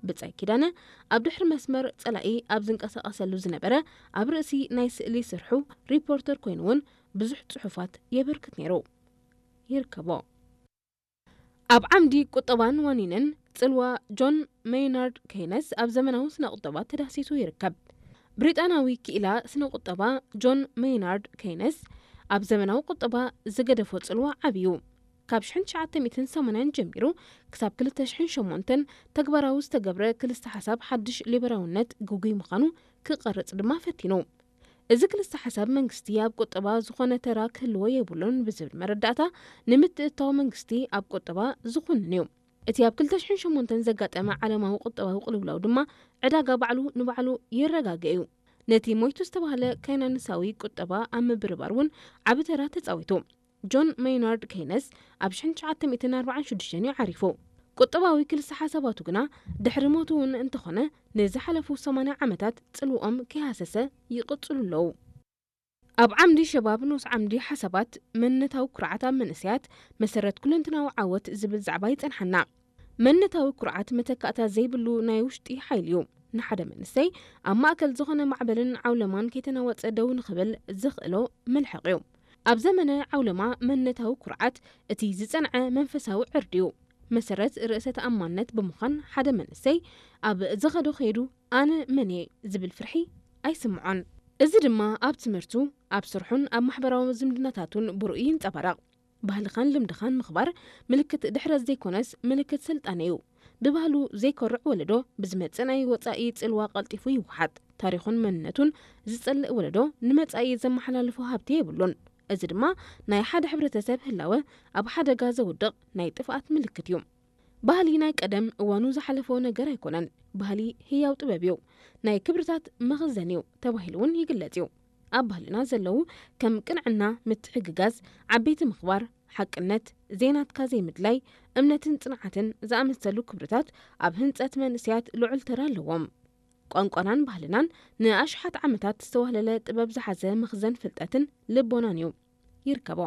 ብጻይ ኪዳነ ኣብ ድሕሪ መስመር ጸላኢ ኣብ ዝንቀሳቐሰሉ ዝነበረ ኣብ ርእሲ ናይ ስእሊ ስርሑ ሪፖርተር ኮይኑ እውን ብዙሕ ጽሑፋት የበርክት ነይሩ። ይርከቦ። ኣብ ዓምዲ ቁጠባን ዋኒንን ጽልዋ ጆን ሜይናርድ ኬይነስ ኣብ ዘመናዊ ስነ ቁጠባ ተዳሲሱ ይርከብ። ብሪጣናዊ ክኢላ ስነ ቁጠባ ጆን ሜይናርድ ኬይነስ ኣብ ዘመናዊ ቁጠባ ዝገደፎ ጽልዋ ዓብዩ። ካብ ሽሕን ትሽዓተ ሚእትን ሰማንያን ጀሚሩ ክሳብ ክልተ ሽሕን ሸሞንተን ተግባራዊ ዝተገብረ ክልስተ ሓሳብ ሓድሽ ሊበራውነት ግጉይ ምዃኑ ክቐርጽ ድማ ፈቲኑ። እዚ ክልስተ ሓሳብ መንግስቲ ኣብ ቁጠባ ዝኾነ ተራ ክህልዎ የብሉን ብዝብል መረዳእታ ንምትእትታው መንግስቲ ኣብ ቁጠባ ዝኹንን እዩ። እቲ ኣብ ክልተ ሽሕን ሸሞንተን ዘጋጠመ ዓለማዊ ቁጠባዊ ቅልውላው ድማ ዕዳጋ ባዕሉ ንባዕሉ ይረጋገ እዩ። ነቲ ሞይቱ ዝተባህለ ካይናንሳዊ ቁጠባ ኣብ ምብርባር እውን ዓቢ ተራ ተጻዊቱ። ጆን ሜይናርድ ኬይነስ ኣብ ሽሕን ትሽዓተ ሚእትን ኣርባዓን ሽዱሽተን እዩ ዓሪፉ። ቁጠባዊ ክልስተ ሓሳባቱ ግና ድሕሪ ሞቱ እውን እንተኾነ ንዝሓለፉ ሰማንያ ዓመታት ጽልውኦም ከይሃሰሰ ይቕጽሉ ኣለዉ። ኣብ ዓምዲ ሸባብ ንኡስ ዓምዲ ሓሳባት መንነታዊ ኩርዓት ኣብ መንእሰያት መሰረት ኩለንትናዊ ዓወት ዝብል ዛዕባ ይጸንሓና። መንነታዊ ኩርዓት መተካእታ ዘይብሉ ናይ ውሽጢ ሓይሊ እዩ። ንሓደ መንእሰይ ኣብ ማእከል ዝኾነ ማዕበልን ዓውለማን ከይተናወጸ ደው ንኽብል ዘኽእሎ መልሕቕ እዩ። ኣብ ዘመነ ዓውለማ መንነታዊ ኩርዓት እቲ ዝጸንዐ መንፈሳዊ ዕርዲ እዩ። መሰረት ርእሰ ተኣማንነት ብምዃን ሓደ መንእሰይ ኣብ ዝኸዶ ከይዱ ኣነ መን እየ ዝብል ፍርሒ ኣይስምዖን። እዚ ድማ ኣብ ትምህርቱ፣ ኣብ ስርሑን ኣብ ማሕበራዊ ዝምድናታቱን ብሩእ ይንጸባረቕ። ባህልኻን ልምድኻን ምኽባር ምልክት ድሕረት ዘይኮነስ ምልክት ስልጣነ እዩ። ብባህሉ ዘይኮርዕ ወለዶ ብዝመጽእ ናይ ወጻኢ ጽልዋ ቀልጢፉ ይወሓጥ። ታሪኹን መንነቱን ዝጸልእ ወለዶ ንመጻኢ ዘመሓላልፎ ሃብቲ የብሉን። እዚ ድማ ናይ ሓደ ሕብረተሰብ ህላወ ኣብ ሓደጋ ዘውድቕ ናይ ጥፍኣት ምልክት እዩ። ባህሊ ናይ ቀደም እዋኑ ዝሓለፎ ነገር ኣይኮነን። ባህሊ ህያው ጥበብ እዩ። ናይ ክብርታት መኽዘን እዩ ተባሂሉ እውን ይግለጽ እዩ። ኣብ ባህልና ዘለዉ ከም ቅንዕና፣ ምትሕግጋዝ፣ ዓበይቲ ምኽባር፣ ሓቅነት፣ ዘይናትካ ዘይምድላይ፣ እምነትን ጽንዓትን ዝኣመሰሉ ክብርታት ኣብ ህንጸት መንእሰያት ልዑል ተራ ኣለዎም። ቋንቋናን ባህልናን ንኣሽሓት ዓመታት ዝተዋህለለ ጥበብ ዝሓዘ መኽዘን ፍልጠትን ልቦናን እዩ። ይርከቦ።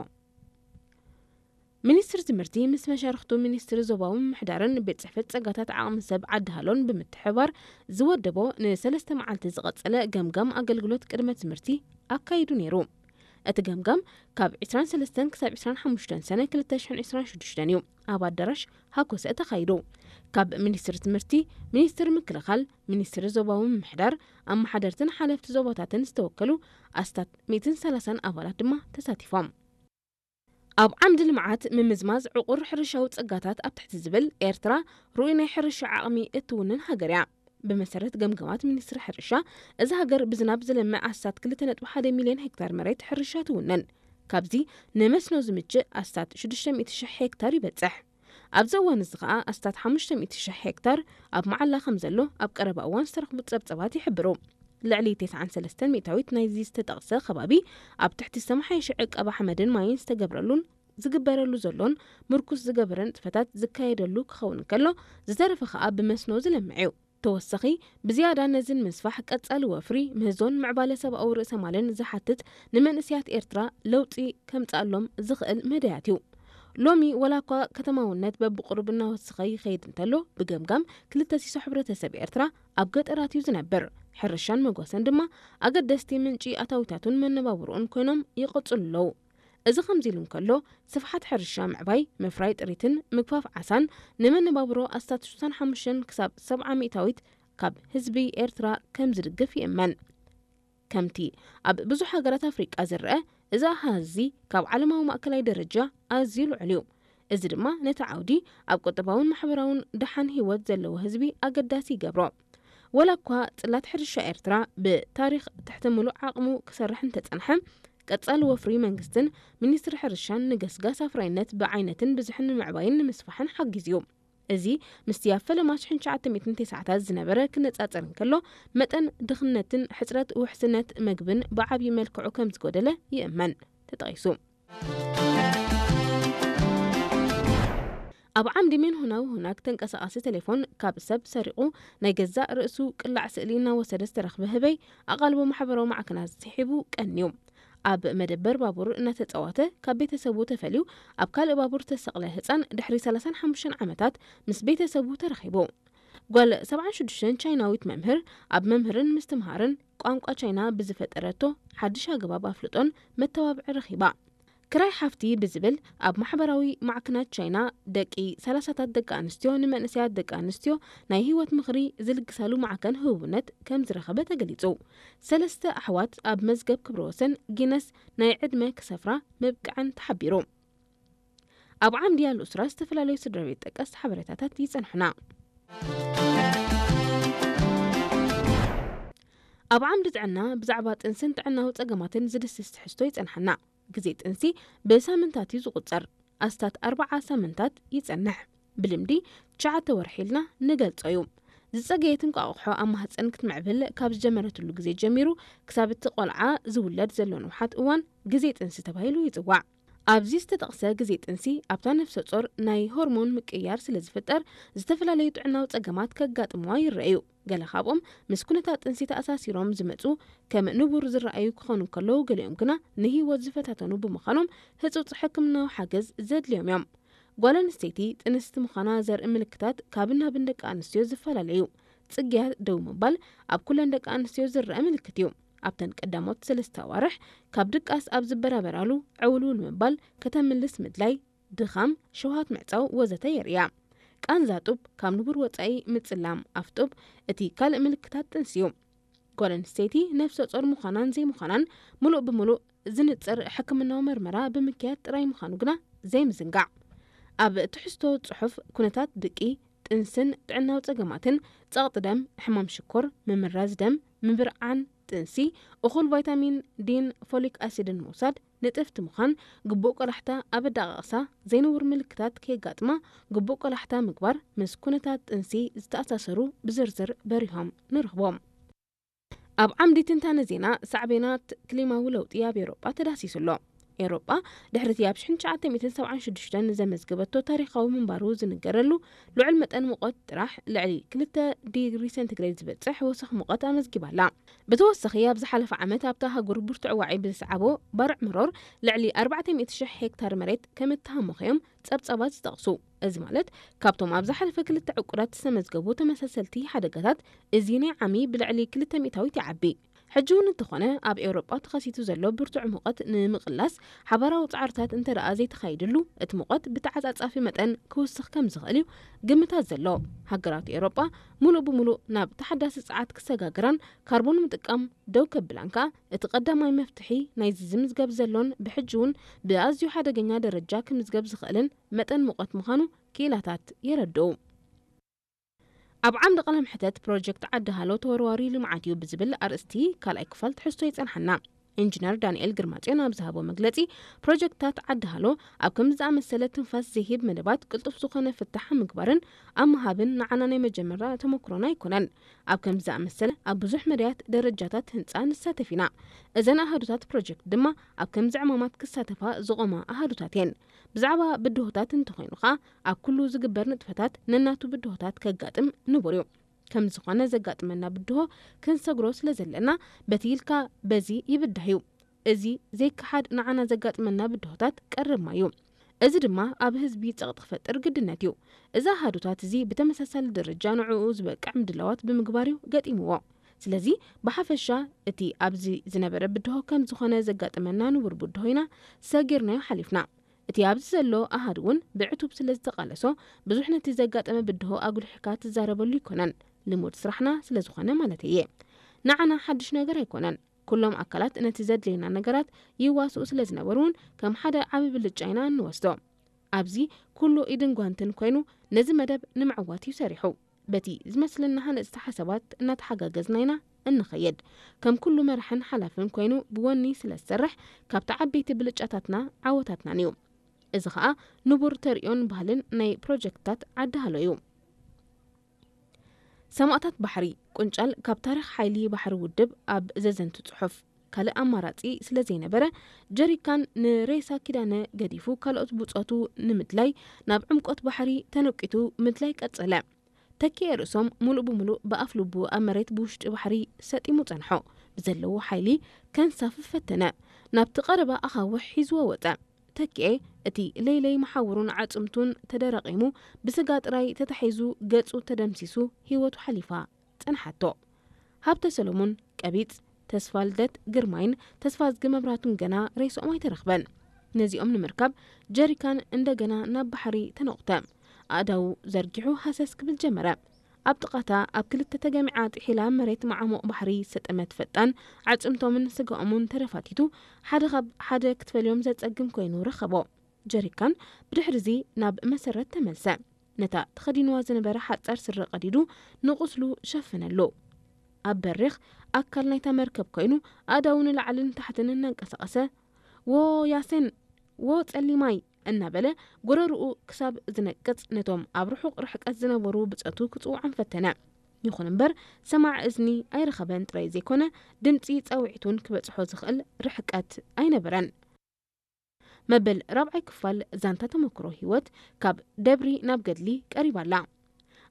ሚኒስትሪ ትምህርቲ ምስ መሻርኽቱ ሚኒስትሪ ዞባዊ ምምሕዳርን ቤት ጽሕፈት ጸጋታት ዓቕሚ ሰብ ዓዲ ሃሎን ብምትሕብባር ዝወደቦ ንሰለስተ መዓልቲ ዝቐጸለ ገምጋም ኣገልግሎት ቅድመ ትምህርቲ ኣካይዱ ነይሩ። እቲ ገምጋም ካብ ዕስራን ሰለስተን ክሳብ ዕስራን ሓሙሽተን ሰነ ክልተ ሽሕን ዕስራን ሽዱሽተን እዩ ኣብ ኣዳራሽ ሃኮሰ ተኻይዱ። ካብ ሚኒስትሪ ትምህርቲ፣ ሚኒስትሪ ምክልኻል፣ ሚኒስትሪ ዞባዊ ምምሕዳር፣ ኣመሓደርትን ሓለፍቲ ዞባታትን ዝተወከሉ ኣስታት ሚእትን ሰላሳን ኣባላት ድማ ተሳቲፎም። ኣብ ዓምዲ ልምዓት ምምዝማዝ ዕቑር ሕርሻዊ ጸጋታት ኣብ ትሕቲ ዝብል ኤርትራ ርኡይ ናይ ሕርሻ ዓቕሚ እትውንን ሃገር እያ። ብመሰረት ገምገማት ሚኒስትሪ ሕርሻ፣ እዛ ሃገር ብዝናብ ዝለምዕ ኣስታት ክልተ ነጥቢ ሓደ ሚልዮን ሄክታር መሬት ሕርሻ ትውንን። ካብዚ ንመስኖ ዝምችእ ኣስታት ሽዱሽተ ሚእቲ ሽሕ ሄክታር ይበጽሕ። ኣብዚ እዋን እዚ ከኣ ኣስታት ሓሙሽተ ሚእቲ ሽሕ ሄክታር ኣብ መዓላ ከም ዘሎ ኣብ ቀረባ እዋን ዝተረኽቡ ጸብጸባት ይሕብሩ። ልዕሊ ተስዓን ሰለስተን ሚእታዊት ናይዚ ዝተጠቕሰ ከባቢ ኣብ ትሕቲ ዝተመሓየሸ ዕቀባ ሓመድን ማይን ዝተገብረሉን ዝግበረሉ ዘሎን ምርኩስ ዝገበረ ንጥፈታት ዝካየደሉ ክኸውን እንከሎ፣ ዝተረፈ ከኣ ብመስኖ ዝለምዕ እዩ። ተወሰኺ፣ ብዝያዳ ነዚ ንምስፋሕ ቀጻሊ ወፍሪ፣ ምህዞን ምዕባለ ሰብኣዊ ርእሰ ማልን ዝሓትት ንመንእሰያት ኤርትራ ለውጢ ከምጽኣሎም ዝኽእል መዳያት እዩ። ሎሚ ወላ እኳ ከተማውነት በብቑሩብ እናወሰኸ ይኸይድ እንተሎ፣ ብገምጋም ክልተ ሲሶ ሕብረተሰብ ኤርትራ ኣብ ገጠራት እዩ ዝነብር። ሕርሻን መጓሰን ድማ ኣገደስቲ ምንጪ ኣታዊታቱን መነባብሮኡን ኮይኖም ይቐጽሉ ኣለዉ። እዚ ከምዚ ኢሉ እንከሎ፣ ስፍሓት ሕርሻ ምዕባይ፣ ምፍራይ ጥሪትን ምግፋፍ ዓሳን ንመነባብሮ ኣስታት ሽሳን ሓሙሽተን ክሳብ ሰብዓ ሚእታዊት ካብ ህዝቢ ኤርትራ ከም ዝድግፍ ይእመን። ከምቲ ኣብ ብዙሕ ሃገራት ኣፍሪቃ ዝረአ፣ እዚ ኣሃዝ እዚ ካብ ዓለማዊ ማእከላይ ደረጃ ኣዝዩ ልዑል እዩ። እዚ ድማ ነቲ ዓውዲ ኣብ ቁጠባውን ማሕበራውን ደሓን ህይወት ዘለዎ ህዝቢ ኣገዳሲ ይገብሮ። ወላ እኳ ጽላት ሕርሻ ኤርትራ ብታሪኽ ትሕቲ ምሉእ ዓቕሙ ክሰርሕ እንተጸንሐ፣ ቀጻሊ ወፍሪ መንግስትን ሚኒስትሪ ሕርሻን ንገስጋስ ኣፍራይነት ብዓይነትን ብዝሕን ንምዕባይን ንምስፋሕን ሓጊዙ እዩ። እዚ ምስቲ ኣብ ፈለማ ሽሕን ትሽዓተ ሚእትን ተስዓታት ዝነበረ ክነጻጸር እንከሎ፣ መጠን ድኽነትን ሕጽረት ውሕስነት መግብን ብዓብዪ መልክዑ ከም ዝጎደለ ይእመን። ተጠቒሱ። ኣብ ዓምዲ ሜንሆናዊ ሁናግ ተንቀሳቓሲ ቴሌፎን ካብ ሰብ ሰሪቑ ናይ ገዛእ ርእሱ ቅላዕ ስእሊ እናወሰደ ዝተረኽበ ህበይ ኣቓልቦ ማሕበራዊ ማዕከናት ስሒቡ ቀንዩ። ኣብ መደበር ባቡር እናተጻወተ ካብ ቤተሰቡ ተፈልዩ ኣብ ካልእ ባቡር ተሰቕለ ህጻን ድሕሪ ሰላሳን ሓሙሽተን ዓመታት ምስ ቤተሰቡ ተረኺቡ። ጓል ሰብዓን ሽዱሽተን ቻይናዊት መምህር ኣብ መምህርን ምስትምሃርን ቋንቋ ቻይና ብዝፈጠረቶ ሓድሽ ኣገባብ ኣፍልጦን መተባብዒ ረኺባ። ክራይ ሓፍቲ ብዝብል ኣብ ማሕበራዊ ማዕከናት ቻይና ደቂ ሰላሳታት ደቂ ኣንስትዮ ንመንእሰያት ደቂ ኣንስትዮ ናይ ህይወት ምኽሪ ዝልግሳሉ ማዕከን ህቡብነት ከም ዝረኸበ ተገሊጹ። ሰለስተ ኣሕዋት ኣብ መዝገብ ክብረ ወሰን ጊነስ ናይ ዕድመ ክሰፍራ ምብቅዐን ተሓቢሩ። ኣብ ዓምዲ ኣልኡስራ ዝተፈላለዩ ስድራ ቤት ጠቀስ ሓበሬታታት ይጸንሑና። ኣብ ዓምዲ ጥዕና ብዛዕባ ጥንስን ጥዕናዊ ጸገማትን ዝድስስ ትሕዝቶ ይጸንሓና። ግዜ ጥንሲ ብሳምንታት እዩ ዝቑጸር። ኣስታት ኣርብዓ ሳምንታት ይጸንሕ። ብልምዲ ትሽዓተ ወርሒ ኢልና ንገልጾ እዩ። ዝጸገየት እንቋቑሖ ኣብ ማህጸን ክትምዕብል ካብ ዝጀመረትሉ ግዜ ጀሚሩ ክሳብ እቲ ቆልዓ ዝውለድ ዘሎ ንውሓት እዋን ግዜ ጥንሲ ተባሂሉ ይጽዋዕ። ኣብዚ ዝተጠቕሰ ግዜ ጥንሲ ኣብታ ነፍሰ ጾር ናይ ሆርሞን ምቅይያር ስለ ዝፍጠር ዝተፈላለዩ ጥዕናዊ ጸገማት ከጋጥምዋ ይረኣዩ። ገለ ካብኦም ምስ ኩነታት ጥንሲ ተኣሳሲሮም ዝመጹ ከም ንቡር ዝረኣዩ ክኾኑ እንከለዉ፣ ገሊኦም ግና ንህይወት ዝፈታተኑ ብምዃኖም ህጹጽ ሕክምናዊ ሓገዝ ዘድልዮም እዮም። ጓል ኣንስተይቲ ጥንስቲ ምዃና ዘርኢ ምልክታት ካብን ናብን ደቂ ኣንስትዮ ዝፈላለ እዩ። ጽግያት ደው ምባል ኣብ ኩለን ደቂ ኣንስትዮ ዝረኣ ምልክት እዩ። ኣብተን ቀዳሞት ሰለስተ ኣዋርሕ ካብ ድቃስ ኣብ ዝበራበራሉ ዕውልውል ምባል፣ ከተምልስ ምድላይ፣ ድኻም፣ ሸውሃት ምዕጻው ወዘተ የርእያ። ቃንዛ ጡብ፣ ካብ ንቡር ወጻኢ ምጽላም ኣፍ ጡብ እቲ ካልእ ምልክታት ጥንሲ እዩ። ጓል ኣንስተይቲ ነፍሰ ጾር ምዃናን ዘይምዃናን ምሉእ ብምሉእ ዝንጽር ሕክምናዊ መርመራ ብምክያድ ጥራይ ምዃኑ ግና ዘይምዝንጋዕ። ኣብ ትሕዝቶ ጽሑፍ ኩነታት ድቂ፣ ጥንስን ጥዕናዊ ጸገማትን፣ ጸቕጢ ደም፣ ሕማም ሽኮር፣ ምምራዝ ደም፣ ምብርዓን ጥንሲ፣ እኹል ቫይታሚን ዲን ፎሊክ ኣሲድን ምውሳድ፣ ንጥፍቲ ምዃን፣ ግቡእ ቆላሕታ ኣብ ኣደቓቕሳ፣ ዘይንቡር ምልክታት ከየጋጥማ ግቡእ ቆላሕታ ምግባር፣ ምስ ኩነታት ጥንሲ ዝተኣሳሰሩ ብዝርዝር በሪሆም ንረኽቦም። ኣብ ዓምዲ ትንታነ ዜና፣ ሳዕቤናት ክሊማዊ ለውጢ ኣብ ኤውሮጳ ተዳህሲሱ ኣሎ። ኤውሮጳ ድሕሪ እቲ ኣብ ሽሕን ትሽዓተ ሚእትን ሰብዓን ሽዱሽተን ዘመዝገበቶ ታሪኻዊ ምንባሩ ዝንገረሉ ልዑል መጠን ሙቐት ጥራሕ ልዕሊ ክልተ ዲግሪ ሴንቲግሬድ ዝበጽሕ ወሰኽ ሙቐት ኣመዝጊባ ኣላ። ብተወሳኺ፣ ኣብ ዝሓለፈ ዓመት ኣብታ ሃገር ብርቱዕ ዋዒ ብዝሰዓቦ ባርዕ መሮር ልዕሊ ኣርባዕተ ሚእቲ ሽሕ ሄክታር መሬት ከም እተሃመኸ እዮም ጸብጻባት ዝጠቕሱ። እዚ ማለት፣ ካብቶም ኣብ ዝሓለፈ ክልተ ዕቁዳት ዝተመዝገቡ ተመሳሰልቲ ሓደጋታት፣ እዚ ናይ ዓሚ ብልዕሊ ክልተ ሚእታዊት ይዓቢ። ሕጂ እውን እንተኾነ፣ ኣብ ኤውሮጳ ተኸሲቱ ዘሎ ብርቱዕ ሙቐት ንምቕላስ ሓባራዊ ጻዕርታት እንተ ደኣ ዘይተኻይድሉ፣ እቲ ሙቐት ብተዓጻጻፊ መጠን ክውስኽ ከም ዝኽእል እዩ ግምታት ዘሎ። ሃገራት ኤውሮጳ ምሉእ ብምሉእ ናብ ተሓዳሲ ጸዓት ክሰጋግራን ካርቦን ምጥቃም ደው ከብላን ከኣ፣ እቲ ቀዳማይ መፍትሒ ናይዚ ዝምዝገብ ዘሎን ብሕጂ እውን ብኣዝዩ ሓደገኛ ደረጃ ክምዝገብ ዝኽእልን መጠን ሙቐት ምዃኑ ክኢላታት የረድኡ። ኣብ ዓምዲ ቀለም ሕተት፣ ፕሮጀክት ዓዲ ሃሎ ተወርዋሪ ልምዓት እዩ ብዝብል ኣርእስቲ ካልኣይ ክፋል ትሕዝቶ ይጸንሓና። ኢንጂነር ዳንኤል ግርማጽዮን ኣብ ዝሃቦ መግለጺ፣ ፕሮጀክትታት ዓዲ ሃሎ ኣብ ከምዚ ዝኣመሰለ ትንፋስ ዘይህብ መደባት ቅልጡፍ ዝኾነ ፍታሕ ኣብ ምግባርን ኣብ ምሃብን ንዓና ናይ መጀመርያ ተመክሮና ኣይኮነን። ኣብ ከምዚ ዝኣመሰለ ኣብ ብዙሕ መዳያት ደረጃታት ህንጻ ንሳተፍ ኢና። እዘን ኣሃዱታት ፕሮጀክት ድማ ኣብ ከምዚ ዕማማት ክሳተፋ ዝቖማ ኣሃዱታት እየን። ብዛዕባ ብድሆታት እንተኾይኑ ኸኣ፣ ኣብ ኩሉ ዝግበር ንጥፈታት ነናቱ ብድሆታት ከጋጥም ንቡር እዩ። ከም ዝኾነ ዘጋጥመና ብድሆ ክንሰግሮ ስለ ዘለና፣ በቲ ኢልካ በዚ ይብዳህ እዩ። እዚ ዘይከሓድ ንዓና ዘጋጥመና ብድሆታት ቀረብ ማይ እዩ። እዚ ድማ ኣብ ህዝቢ ጸቕጢ ክፈጥር ግድነት እዩ። እዚ ኣሃዱታት እዚ ብተመሳሳሊ ደረጃ ንዕኡ ዝበቅዕ ምድላዋት ብምግባር እዩ ገጢምዎ። ስለዚ ብሓፈሻ እቲ ኣብዚ ዝነበረ ብድሆ ከም ዝኾነ ዘጋጠመና ንቡር ብድሆ ኢና ሰጊርናዮ ሓሊፍና። እቲ ኣብዚ ዘሎ ኣሃዱ እውን ብዕቱብ ስለ ዝተቓለሶ ብዙሕ ነቲ ዘጋጠመ ብድሆ ኣጉሊሕካ ትዛረበሉ ኣይኮነን። ልሙድ ስራሕና ስለ ዝኾነ ማለተይ እየ። ንዓና ሓድሽ ነገር ኣይኮነን። ኩሎም ኣካላት ነቲ ዘድልየና ነገራት ይዋስኡ ስለ ዝነበሩ እውን ከም ሓደ ዓቢ ብልጫ ኢና እንወስዶ። ኣብዚ ኩሉ ኢድን ጓንትን ኮይኑ ነዚ መደብ ንምዕዋት እዩ ሰሪሑ። በቲ ዝመስለና ሃነጽቲ ሓሳባት እናተሓጋገዝና ኢና እንኸይድ። ከም ኩሉ መራሕን ሓላፍን ኮይኑ ብወኒ ስለ ዝሰርሕ ካብቲ ዓበይቲ ብልጫታትና ዓወታትናን እዩ። እዚ ኸኣ ንቡር ተርእዮን ባህልን ናይ ፕሮጀክትታት ዓዲ ሃሎ እዩ። ሰማእታት ባሕሪ ቁንጫል ካብ ታሪኽ ሓይሊ ባሕሪ ውድብ ኣብ ዘዘንቱ ጽሑፍ። ካልእ ኣማራጺ ስለ ዘይነበረ፣ ጀሪካን ንሬሳ ኪዳነ ገዲፉ ካልኦት ብጾቱ ንምድላይ ናብ ዕምቆት ባሕሪ ተነቂቱ ምድላይ ቀጸለ። ተኪኤ ርእሶም ምሉእ ብምሉእ ብኣፍ ልቡ ኣብ መሬት ብውሽጢ ባሕሪ ሰጢሙ ጸንሖ። ብዘለዎ ሓይሊ ከንሳፍፍ ፈተነ። ናብቲ ቀረባ ኣኻውሕ ሒዝዎ ወጸ። ተኪኤ፣ እቲ ለይለይ መሓውሩን ዓጽምቱን ተደረቒሙ፣ ብስጋ ጥራይ ተታሒዙ፣ ገጹ ተደምሲሱ፣ ህይወቱ ሓሊፋ ጸንሓቶ። ሃብተ ሰሎሞን፣ ቀቢጽ፣ ተስፋ ልደት ግርማይን ተስፋዝጊ መብራቱን ገና ሬስኦም ኣይተረኽበን። ነዚኦም ንምርካብ ጀሪካን እንደገና ናብ ባሕሪ ተነቑተ። ኣእዳዉ ዘርጊሑ ሃሰስ ክብል ጀመረ። ኣብ ጥቓታ ኣብ ክልተ ተገሚዓ ጥሒላ መሬት መዓሙቕ ባሕሪ ዝሰጠመት ፈጣን፣ ኣዕጽምቶምን ስጋኦምን ተረፋቲቱ፣ ሓደ ካብ ሓደ ክትፈልዮም ዘጸግም ኮይኑ ረኸቦ። ጀሪካን ብድሕሪዚ ናብ መሰረት ተመልሰ። ነታ ተኸዲንዋ ዝነበረ ሓጻር ስረ ቀዲዱ ንቑስሉ ሸፈነሉ። ኣብ በሪኽ ኣካል ናይታ መርከብ ኮይኑ ኣእዳዉ ንላዕልን ታሕትን እናንቀሳቐሰ፣ "ዎ ያሴን! ዎ ጸሊማይ!" እናበለ ጎረርኡ ክሳብ ዝነቅጽ ነቶም ኣብ ርሑቕ ርሕቀት ዝነበሩ ብጾቱ ክጽውዖም ፈተነ። ይኹን እምበር ሰማዒ እዝኒ ኣይረኸበን ጥራይ ዘይኮነ፣ ድምጺ ጻውዒት እውን ክበጽሖ ዝኽእል ርሕቀት ኣይነበረን። መበል ራብዓይ ክፋል ዛንታ ተመክሮ ህይወት ካብ ደብሪ ናብ ገድሊ ቀሪባ ኣላ።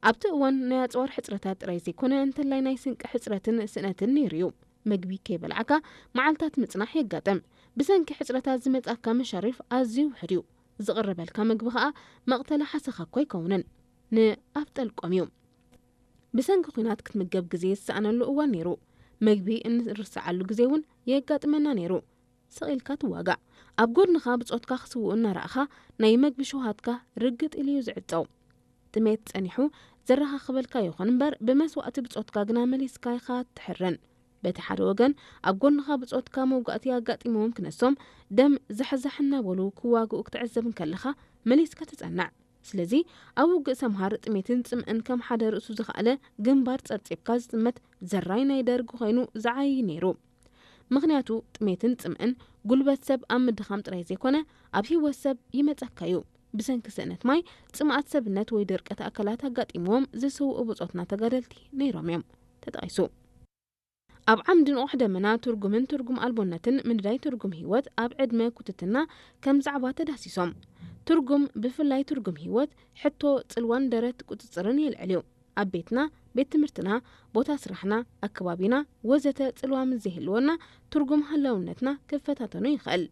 ኣብቲ እዋን ናይ ኣጽዋር ሕጽረታት ጥራይ ዘይኮነ፣ እንተላይ ናይ ስንቂ ሕጽረትን ስእነትን ነይሩ እዩ። መግቢ ከይበላዕካ መዓልታት ምጽናሕ የጋጥም። ብሰንኪ ሕጽረታት ዝመጻካ መሻሪፍ ኣዝዩ ውሑድ እዩ። ዝቕረበልካ መግቢ ከኣ መቕተሊ ሓሰኻ እኳ ኣይከውንን። ንኣፍ ጠልቆም እዩ። ብሰንኪ ኲናት ክትምገብ ግዜ ዝሰኣነሉ እዋን ነይሩ። መግቢ እንርስዓሉ ግዜ እውን የጋጥመና ነይሩ። ስቕ ኢልካ ትዋጋእ። ኣብ ጎድንኻ ብጾትካ ክስውኡ እናረኣኻ ናይ መግቢ ሸውሃትካ ርግጥ ኢሉ እዩ ዝዕጸው። ጥሜት ጸኒሑ ዘረኻኽበልካ ይኹን እምበር ብመስዋእቲ ብጾትካ ግና መሊስካ ኢኻ ትሕረን። በቲ ሓደ ወገን ኣብ ጎንኻ ብጾትካ መውጋእቲ ኣጋጢምዎም ክነሶም ደም ዛሕዛሕ እናበሉ ክዋግኡ ክትዕዘብ እንከለኻ መሊስካ ትጸንዕ። ስለዚ ኣብ ውግእ ሰምሃር ጥሜትን ጽምእን ከም ሓደ ርእሱ ዝኸኣለ ግንባር ጸብጺብካ ዝጥመት ዘራይ ናይ ደርጊ ኮይኑ ዝዓዪ ነይሩ። ምኽንያቱ ጥሜትን ጽምእን ጉልበት ሰብ ኣብ ምድኻም ጥራይ ዘይኮነ ኣብ ህይወት ሰብ ይመጸካ እዩ። ብሰንኪ ስእነት ማይ፣ ጽምኣት ሰብነት ወይ ድርቀት ኣካላት ኣጋጢምዎም ዝስውኡ ብጾትና ተጋደልቲ ነይሮም እዮም ተጠቒሱ። ኣብ ዓምዲ ንቑሕ ደመና ትርጉምን ትርጉም ኣልቦነትን ምንዳይ ትርጉም ህይወት ኣብ ዕድመ ኩትትና ከም ዛዕባ ተዳሲሶም። ትርጉም፣ ብፍላይ ትርጉም ህይወት፣ ሕቶ፣ ጽልዋን ደረት ቁጽጽርን የልዕል እዩ። ኣብ ቤትና፣ ቤት ትምህርትና፣ ቦታ ስራሕና፣ ኣከባቢና ወዘተ ጽልዋ ምስ ዘይህልወና ትርጉም ህላውነትና ክፈታተኖ ይኽእል።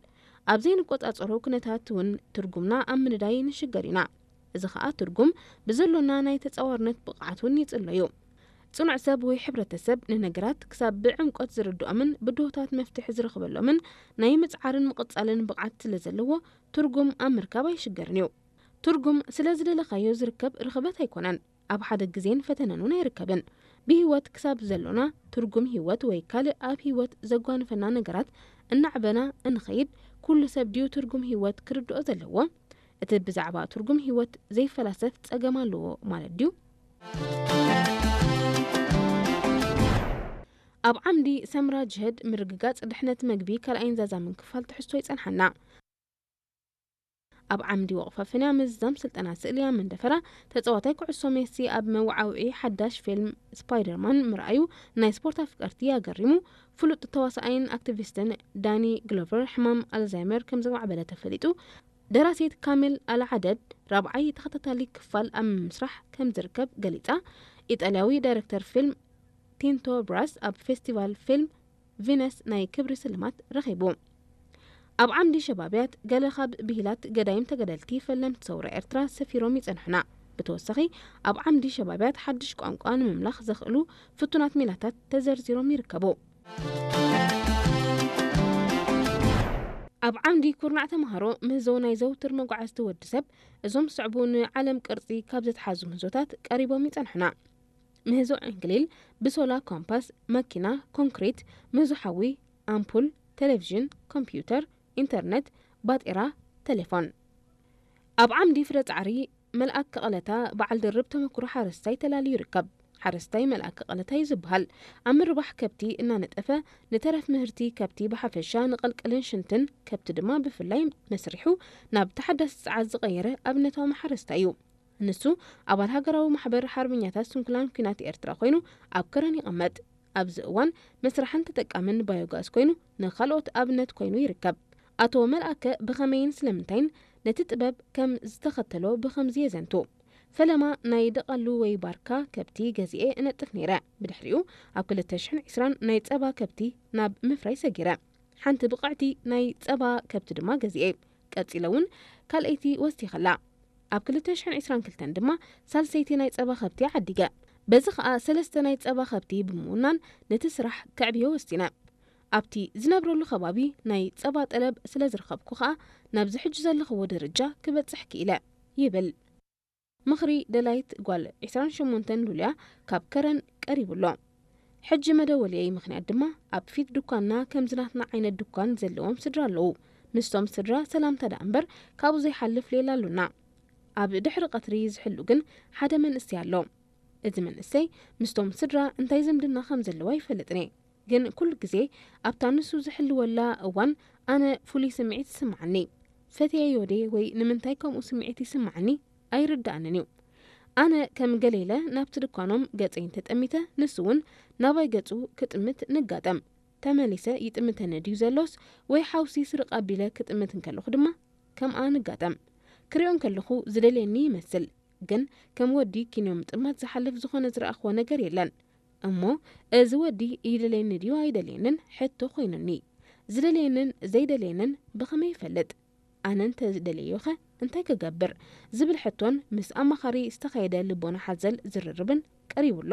ኣብ ዘይንቆጻጸሮ ኩነታት እውን ትርጉምና ኣብ ምንዳይ ንሽገር ኢና። እዚ ኸኣ ትርጉም ብዘሎና ናይ ተጻዋርነት ብቕዓት እውን ይጽሎ እዩ። ጽኑዕ ሰብ ወይ ሕብረተሰብ ንነገራት ክሳብ ብዕምቆት ዝርድኦምን ብድሆታት መፍትሒ ዝረኽበሎምን ናይ ምጽዓርን ምቕጻልን ብቕዓት ስለ ዘለዎ ትርጉም ኣብ ምርካብ ኣይሽገርን እዩ። ትርጉም ስለ ዝደለኻዮ ዝርከብ ርኽበት ኣይኮነን። ኣብ ሓደ ግዜን ፈተነን እውን ኣይርከብን። ብህይወት ክሳብ ዘሎና ትርጉም ህይወት ወይ ካልእ ኣብ ህይወት ዘጓንፈና ነገራት እናዕበና እንኸይድ ኩሉ ሰብ ድዩ ትርጉም ህይወት ክርድኦ ዘለዎ? እቲ ብዛዕባ ትርጉም ህይወት ዘይፈላሰፍ ጸገም ኣለዎ ማለት ድዩ? ኣብ ዓምዲ ሰምራ ጅህድ ምርግጋጽ ድሕነት መግቢ ካልኣይን ዛዛምን ክፋል ትሕዝቶ ይጸንሓና። ኣብ ዓምዲ ወቕፋ ፍንያ ምዝዛም ስልጠና ስእሊ ኣብ መንደፈራ ተጻዋታይ ኩዕሶ ሜሲ ኣብ መወዓውዒ ሓዳሽ ፊልም ስፓይደርማን ምርኣዩ ናይ ስፖርት ኣፍቀርቲ ኣገሪሙ። ፍሉጥ ተዋሳኣይን ኣክቲቪስትን ዳኒ ግሎቨር ሕማም ኣልዛይመር ከም ዘማዕበለ ተፈሊጡ። ደራሲት ካሚል ኣልዓደድ ራብዓይ ተኸታታሊ ክፋል ኣብ ምስራሕ ከም ዝርከብ ገሊጻ። ኢጣልያዊ ዳይረክተር ፊልም ቲንቶ ብራስ ኣብ ፌስቲቫል ፊልም ቪነስ ናይ ክብሪ ስልማት ረኺቡ። ኣብ ዓምዲ ሸባብያት ገለ ካብ ብሂላት ገዳይም ተጋደልቲ ፈለምቲ ሰውራ ኤርትራ ሰፊሮም ይጸንሑና። ብተወሳኺ ኣብ ዓምዲ ሸባብያት ሓድሽ ቋንቋ ንምምላኽ ዘኽእሉ ፍቱናት ሜላታት ተዘርዚሮም ይርከቡ። ኣብ ዓምዲ ኩርናዕ ተምሃሮ ምህዞ ናይ ዘውትር መጓዓዝቲ ወዲ ሰብ፣ እዞም ዝስዕቡ ንዓለም ቅርጺ ካብ ዘትሓዙ ምህዞታት ቀሪቦም ይጸንሑና። ምህዞ ዕንክሊል ብሶላ ኮምፓስ፣ መኪና፣ ኮንክሪት፣ ምህዞ ሓዊ፣ ኣምፑል፣ ቴሌቪዥን፣ ኮምፒውተር፣ ኢንተርነት፣ ባጤራ፣ ቴሌፎን። ኣብ ዓምዲ ፍረ ጻዕሪ መልኣክ ቀለታ በዓል ድርብ ተመክሮ ሓረስታይ ተላልዩ ይርከብ። ሓረስታይ መልኣክ ቀለታ እዩ ዝበሃል። ኣብ ምርባሕ ከብቲ እናነጠፈ ንተረፍ ምህርቲ ከብቲ ብሓፈሻ ንቐልቀልን ሽንትን ከብቲ ድማ ብፍላይ መስሪሑ ናብ ተሓዳሲ ጸዓት ዝቐየረ ኣብነታዊ ሓረስታይ እዩ። ንሱ ኣባል ሃገራዊ ማሕበር ሓርበኛታት ስንኩላን ኲናት ኤርትራ ኮይኑ ኣብ ከረን ይቕመጥ። ኣብዚ እዋን መስራሕን ተጠቃምን ባዮጋዝ ኮይኑ ንኻልኦት ኣብነት ኮይኑ ይርከብ። ኣቶ መልኣከ ብኸመይን ስለምንታይን ነቲ ጥበብ ከም ዝተኸተሎ ብኸምዚ የዘንቱ። ፈለማ ናይ ደቐሉ ወይ ባርካ ከብቲ ገዚኤ እነጥፍ ነይረ። ብድሕሪኡ ኣብ ክልተ ሽሕን ዕስራን ናይ ጸባ ከብቲ ናብ ምፍራይ ሰጊረ። ሓንቲ ብቕዕቲ ናይ ጸባ ከብቲ ድማ ገዚኤ። ቀጺለ እውን ካልኣይቲ ወሲኸላ። ኣብ ክልተ ሽሕን ዕስራን ክልተን ድማ ሳልሰይቲ ናይ ጸባ ከብቲ ዓዲገ። በዚ ኸኣ ሰለስተ ናይ ጸባ ከብቲ ብምውናን ነቲ ስራሕ ከዕብዮ ወሲነ። ኣብቲ ዝነብረሉ ከባቢ ናይ ጸባ ጠለብ ስለ ዝረኸብኩ ኸኣ ናብዚ ሕጂ ዘለኽዎ ደረጃ ክበጽሕ ክኢለ ይብል። ምኽሪ ደላይት ጓል ዕስራን ሸሞንተን ሉልያ ካብ ከረን ቀሪቡ ኣሎ። ሕጂ መደወልየይ ምኽንያት ድማ ኣብ ፊት ድኳንና ከምዚ ናትና ዓይነት ድኳን ዘለዎም ስድራ ኣለዉ። ምስቶም ስድራ ሰላምታ ደኣ እምበር ካብኡ ዘይሓልፍ ሌላ ኣሉና። ኣብ ድሕሪ ቀትሪ ዝሕሉ ግን ሓደ መንእሰይ ኣሎ። እዚ መንእሰይ ምስቶም ስድራ እንታይ ዝምድና ከም ዘለዎ ኣይፈልጥን እየ። ግን ኩሉ ግዜ ኣብታ ንሱ ዝሕልወላ እዋን ኣነ ፍሉይ ስምዒት ይስምዓኒ። ፈትየዮ ድየ ወይ ንምንታይ ከምኡ ስምዒት ይስምዓኒ ኣይርድኣንን እዩ። ኣነ ከም ገለ ኢለ ናብቲ ድኳኖም ገጸይ እንተጠሚተ፣ ንሱ እውን ናባይ ገጹ ክጥምት ንጋጠም። ተመሊሰ ይጥምተኒ ድዩ ዘሎስ ወይ ሓውሲ ስርቕ ኣቢለ ክጥምት እንከለኹ ድማ ከምኣ ንጋጠም። ክሪኦ እንከለኹ ዝደልየኒ ይመስል፣ ግን ከም ወዲ ኪንዮ ምጥማት ዝሓልፍ ዝኾነ ዝረኣኽዎ ነገር የለን። እሞ እዚ ወዲ ይደልየኒ ድዩ ኣይደልየንን ሕቶ ኮይኑኒ። ዝደልየንን ዘይደልየንን ብኸመይ ይፈልጥ? ኣነ እንተ ዝደልየዮኸ እንታይ ክገብር? ዝብል ሕቶን ምስ ኣማኻሪ ዝተኻየደ ልቦና ሓዘል ዝርርብን ቀሪቡ ኣሎ።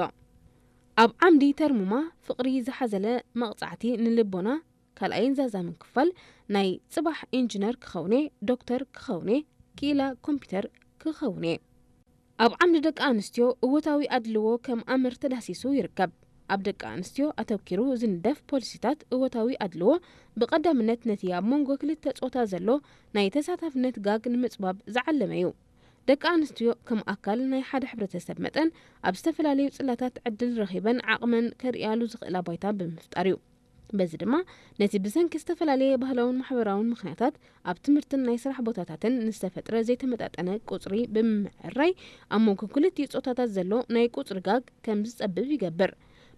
ኣብ ዓምዲ ተርሙማ ፍቕሪ ዝሓዘለ መቕጻዕቲ ንልቦና ካልኣይን ዛዛምን ክፋል ናይ ጽባሕ ኢንጂነር ክኸውኔ፣ ዶክተር ክኸውኔ፣ ክኢላ ኮምፒውተር ክኸውኔ። ኣብ ዓምዲ ደቂ ኣንስትዮ እወታዊ ኣድልዎ ከም ኣምር ተዳህሲሱ ይርከብ። ኣብ ደቂ ኣንስትዮ ኣተኪሩ ዝንደፍ ፖሊሲታት እወታዊ ኣድልዎ ብቐዳምነት ነቲ ኣብ መንጎ ክልተ ጾታ ዘሎ ናይ ተሳታፍነት ጋግ ንምጽባብ ዝዓለመ እዩ። ደቂ ኣንስትዮ ከም ኣካል ናይ ሓደ ሕብረተሰብ መጠን ኣብ ዝተፈላለዩ ጽላታት ዕድል ረኺበን ዓቕመን ከርእያሉ ዝኽእላ ባይታ ብምፍጣር እዩ። በዚ ድማ ነቲ ብሰንኪ ዝተፈላለየ ባህላውን ማሕበራውን ምኽንያታት ኣብ ትምህርትን ናይ ስራሕ ቦታታትን ንዝተፈጥረ ዘይተመጣጠነ ቁጽሪ ብምምዕራይ ኣብ መንጎ ክልቲኡ ጾታታት ዘሎ ናይ ቁጽሪ ጋግ ከም ዝጸብብ ይገብር።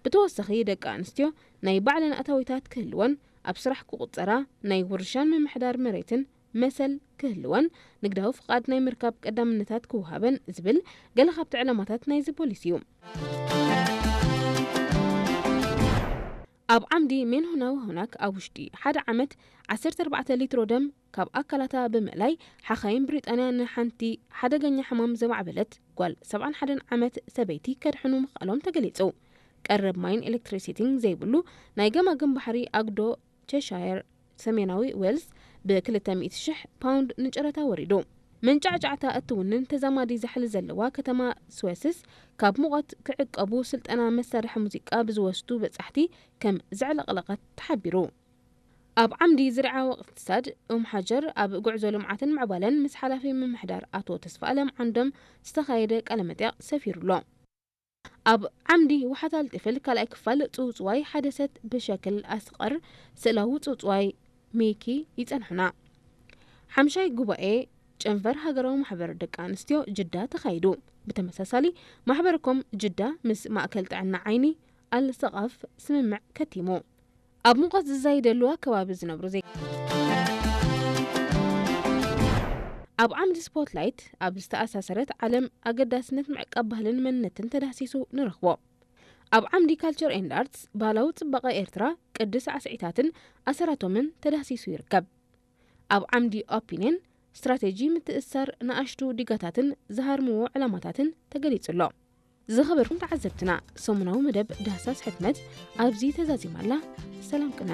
ብተወሳኺ ደቂ ኣንስትዮ ናይ ባዕለን ኣታዊታት ክህልወን፣ ኣብ ስራሕ ክቑጸራ፣ ናይ ውርሻን ምምሕዳር መሬትን መሰል ክህልወን፣ ንግዳዊ ፍቓድ ናይ ምርካብ ቀዳምነታት ክወሃበን ዝብል ገለ ካብቲ ዕላማታት ናይዚ ፖሊሲ እዩ። ኣብ ዓምዲ ሜንሆናዊ ሆናክ ኣብ ውሽጢ ሓደ ዓመት ዓሰርተ ኣርባዕተ ሊትሮ ደም ካብ ኣካላታ ብምእላይ ሓኻይም ብሪጣንያ ንሓንቲ ሓደገኛ ሕማም ዘማዕበለት ጓል ሰብዓን ሓደን ዓመት ሰበይቲ ከድሕኑ ምኽኣሎም ተገሊጹ። ቀረብ ማይን ኤሌክትሪሲቲን ዘይብሉ ናይ ገማግም ባሕሪ ኣግዶ ቸሻየር ሰሜናዊ ዌልስ ብ ክልተ ሚእቲ ሽሕ ፓውንድ ንጨረታ ወሪዱ። መንጫዕጫዕታ እትውንን ተዛማዲ ዛሕሊ ዘለዋ ከተማ ስወስስ ካብ ሙቐት ክዕቀቡ ስልጠና መሳርሒ ሙዚቃ ብዝወስዱ በጻሕቲ ከም ዘዕለቕለቐት ተሓቢሩ። ኣብ ዓምዲ ዝርዓዊ እቕትሳድ ኡም ሓጀር ኣብ ጉዕዞ ልምዓትን ምዕባለን ምስ ሓላፊ ምምሕዳር ኣቶ ተስፋኣለም ዓንዶም ዝተኻየደ ቃለ መጠይቕ ሰፊሩ ኣሎ። ኣብ ዓምዲ ውሓት ኣልጢፍል ካልኣይ ክፋል ጽውጽዋይ ሓደ ሰት ብሸክል ኣስቐር ስእላዊ ጽውጽዋይ ሚኪ ይጸንሑና። ሓምሻይ ጉባኤ ጨንፈር ሃገራዊ ማሕበር ደቂ ኣንስትዮ ጅዳ ተኻይዱ። ብተመሳሳሊ ማሕበርኮም ጅዳ ምስ ማእከል ጥዕና ዓይኒ ኣልሰቓፍ ስምምዕ ከቲሙ። ኣብ ሙቐት ዝዛይደሉ ኣከባቢ ዝነብሩ ዜጋ ኣብ ዓምዲ ስፖትላይት ኣብ ዝተኣሳሰረት ዓለም ኣገዳስነት ምዕቃብ ባህልን መንነትን ተዳህሲሱ ንረኽቦ። ኣብ ዓምዲ ካልቸር ኤንድ ኣርትስ ባህላዊ ጽባቐ ኤርትራ ቅዲ ሳዕስዒታትን ኣሰራቶምን ተዳህሲሱ ይርከብ። ኣብ ዓምዲ ኦፒንየን ስትራቴጂ ምትእስሳር ንኣሽቱ ዲጋታትን ዝሃርምዎ ዕላማታትን ተገሊጹ ኣሎ። ዝኸበርኩም ተዓዘብትና፣ ሰሙናዊ መደብ ዳህሳስ ሕትመት ኣብዚ ተዛዚማ ኣላ። ሰላም ቅነ።